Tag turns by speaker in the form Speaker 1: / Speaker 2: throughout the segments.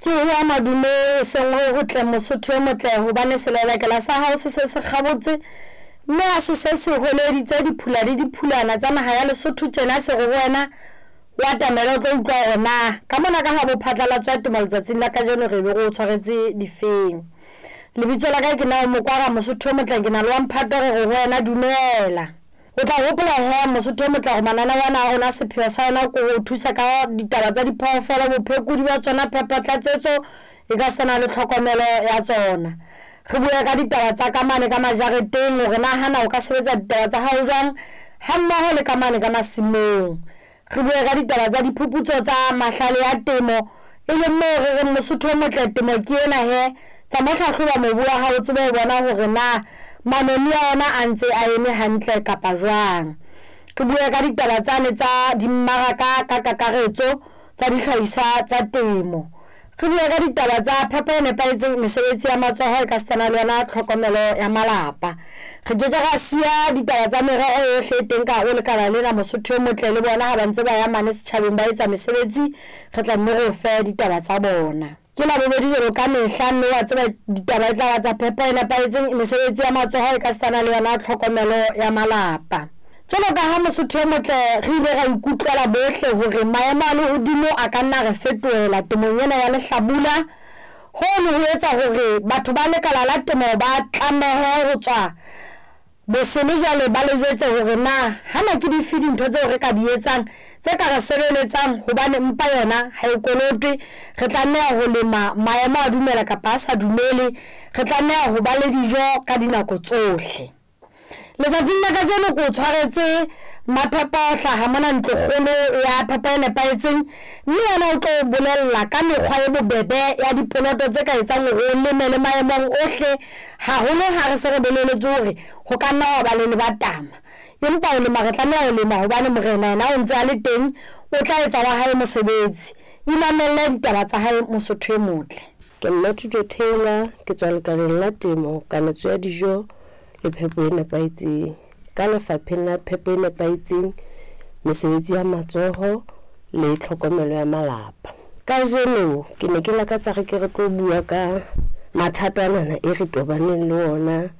Speaker 1: Ke hoa madume e seng ho hotle Mosotho e motle hobane selelekela sa hao se se se kgabotse mme ha se se se hweleditse diphula le diphulana tsa naha ya Lesotho tjena se re ho wena o atamele o tlo utlwa hore na ka mona ka ha bo phatlalatso ya temo letsatsing la kajeno re be re o tshwaretse difeng. Lebitso la ka ke Nao Mokwara Mosotho e motle ke na le wa mphato re re ho wena dumela. O tla hopola he Mosotho e motle hore mananeo ana a rona sepheo sa ona ke ho thusa ka ditaba tsa diphoofolo, bophekodi ba tsona, phepo, tlatsetso e ka sena le tlhokomelo ya tsona. Re bue ka ditaba tsa ka mane ka majareteng hore na hana o ka sebetsa ditaba tsa hao jwang ha mmoho le ka mane ka masimong. Re bue ka ditaba tsa diphuputso tsa mahlale a temo e leng moo re reng Mosotho o motle temo ke ena he tsa mo hlahloba mobu wa hao o tsebe ho bona hore na manoni a ona a ntse a eme hantle kapa jwang. Re bue ka ditaba tsane tsa dimmaraka ka kakaretso tsa dihlahiswa tsa temo. Re bue ka ditaba tsa phepo e nepahetseng, mesebetsi ya matsoho e ka sitana le yona tlhokomelo ya malapa. Re ke ke ra siya ditaba tsa merero yohle e teng ka hare ho lekala lena Mosotho e motle le bona ha ba ntse ba ya mane setjhabeng ba etsa mesebetsi re tla nne re o fe ditaba tsa bona. Ke Labobedi jwalo ka mehla mme wa tseba ditaba e tla ba tsa phepo e nepahetseng, mesebetsi ya matsoho e ka sitana le yona tlhokomelo ya malapa. Jwalo ka ha Mosotho e motle re ile ra ikutlwela bohle hore maemo a lehodimo a ka nna re fetohela temong ena ya lehlabula. Hono ho etsa hore batho ba lekala la temo ba tlamehe ho tswa bosele jwale ba le jwetse hore na hana ke dife dintho tseo re ka di etsang tse ka re sebeletsang hobane mpa yona ha e kolotwe. Re tlameha ho lema maemo a dumela kapa a sa dumele, re tlameha ho ba le dijo ka dinako tsohle. Letsatsing la kajeno ke o tshwaretse Maphepo a hlaha mona ntlokgolo ya phepo e nepahetseng mme yena o tlo bolella ka mekgwa e bobebe ya dipoloto tse ka etsang hore o leme le maemong ohle haholo ha re se re boleletswe hore ho ka nna wa ba le lebatama. Empa ho lema re tlameha ho lema hobane morena yena o ntse a le teng, o tla etsa wa hae mosebetsi. Imamelle ditaba tsa hae Mosotho e motle.
Speaker 2: Ke Mmathuto Taylor, ke tswa lekaleng la temo, kanetso ya dijo le phepo e nepahetseng. Ka lefapheng la phepo e nepahetseng, mesebetsi ya matsoho le tlhokomelo ya malapa. Kajeno ke ne ke lakatsa re ke re tlo bua ka mathata anana e re tobaneng le ona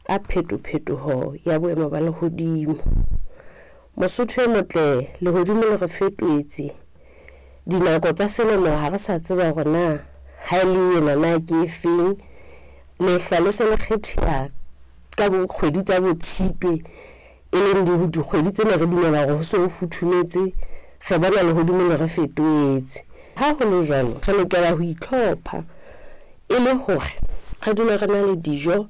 Speaker 2: a phetophetoho ya boemo ba lehodimo. Mosotho e motle, lehodimo le re fetohetse. Dinako tsa selemo ha re sa tseba hore na ha e le ena na ke efeng. Lehlwa le se le kgetheha ka bo kgwedi tsa bo Tshitwe e leng dikgwedi tsena re dumela hore ho se ho futhumetse, re bona lehodimo le re fetohetse. Ha ho le jwalo, re lokela ho itlhopha e le hore re dule re na le dijo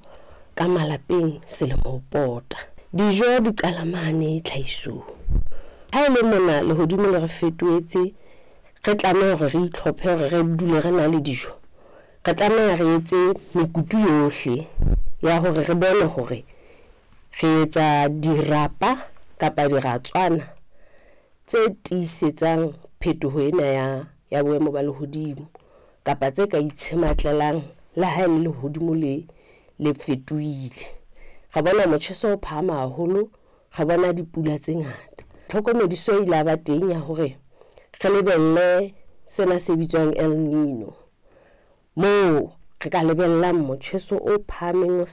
Speaker 2: ka malapeng selemo ho pota. Dijo di qala mane tlhahisong. Ha e le mona lehodimo le re fetohetse, re tlameha hore re itlhophe hore re dule re na le dijo. Re tlameha re etse mekutu yohle ya hore re bone hore re etsa dirapa kapa diratswana tse tiisetsang phetoho ena ya boemo ba lehodimo kapa tse ka itshematlelang le ha e le lehodimo le fetohile. Re bona motjheso o phahama haholo, re bona dipula tse ngata. Tlhokomediso e ile ya ba teng ya hore re lebelle sena se bitswang El Nino, moo re ka lebellang motjheso o phahameng o